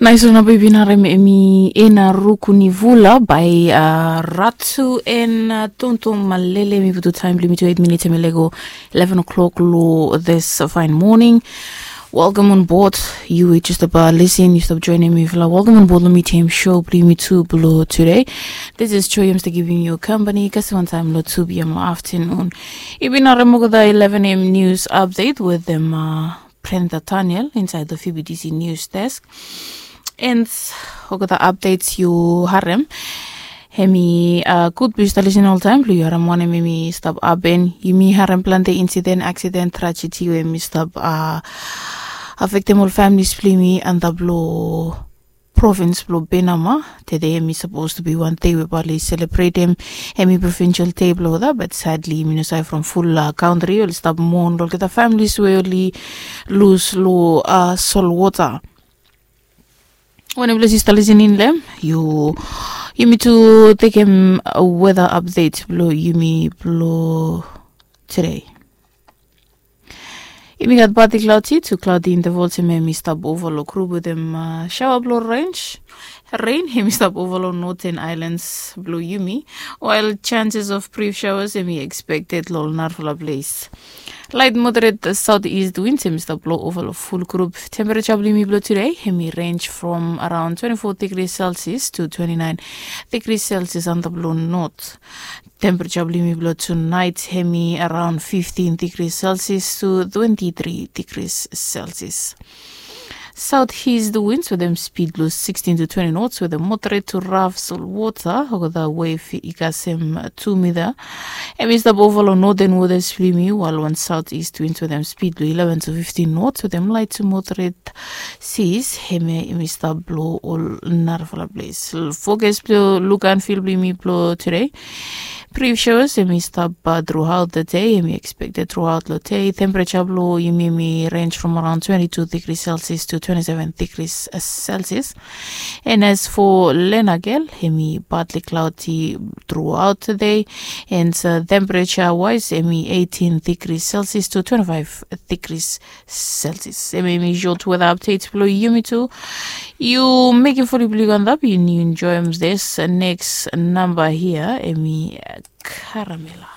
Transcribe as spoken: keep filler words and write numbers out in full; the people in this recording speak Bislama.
Nais wan naba i bin harem emi ena ruku ni vula bai uh, ratu en uh, tontom malele mi butu taim blimi tu eight minutes emi lego eleven o'clock lo this fine morning. Welcome on board. You were just about listen. You stop joining me. Fla. Welcome on board. Let me tame show. Bring me to below today. This is Choyam to giving you company. Kasi one time lo two p.m. lo afternoon. Ibin harem ogo the eleven a.m. news update with them. Uh, Brenda Daniel inside the F B T C news desk. And ogo the updates you harem. Hemi uh, good bis the listen all time. Blue you harem one hemi stop aben. Yumi harem planti incident, accident, tragedy we mi stop uh, affect them all families blimi and the blue province blue Benama. Today hemi supposed to be one day we bali celebrate him hemi provincial day blue that, but sadly mi no sai from full uh, country oli stop mourn look at the families we oli lose lo uh, soul water. When you bless you start listening them, you you need to take him a weather update blue yumi blue today. Yumi gat partly cloudy to cloudy intervals hemi hemi stop over lo group with them uh, shower blow range. Rain hemi stop over lo northern islands blue yumi, while chances of brief showers hemi expected lo narfala place. Light moderate southeast winds hemi stop blow over lo full group. Temperature blue yumi blue today hemi range from around twenty-four degrees Celsius to twenty-nine degrees Celsius on the blue north. Temperature blimi blo tonight hemi around fifteen degrees Celsius to twenty-three degrees Celsius. Southeast winds with them speed blo sixteen to twenty knots with a moderate to rough soil water. Ogo the wave i kasem two meter. Hemi stop over lo northern waters blimi, while one southeast winds with them speed blo eleven to fifteen knots with them light to moderate seas. Hemi hemi stop blo ol narafala place. Forecast blo look and feel blimi blo today. Brief showers hemi stop uh, throughout the day. Hemi expected throughout the day. Temperature blo yumi hemi range from around twenty-two degrees Celsius to twenty-seven degrees uh, Celsius. And as for Lenagel, hemi partly cloudy throughout the day. And uh, temperature wise, hemi eighteen degrees Celsius to twenty-five degrees Celsius. Hemi hemi short weather updates blo yumi tu. You making fully believe on that. You enjoy this next number here. Hemi uh, Caramela.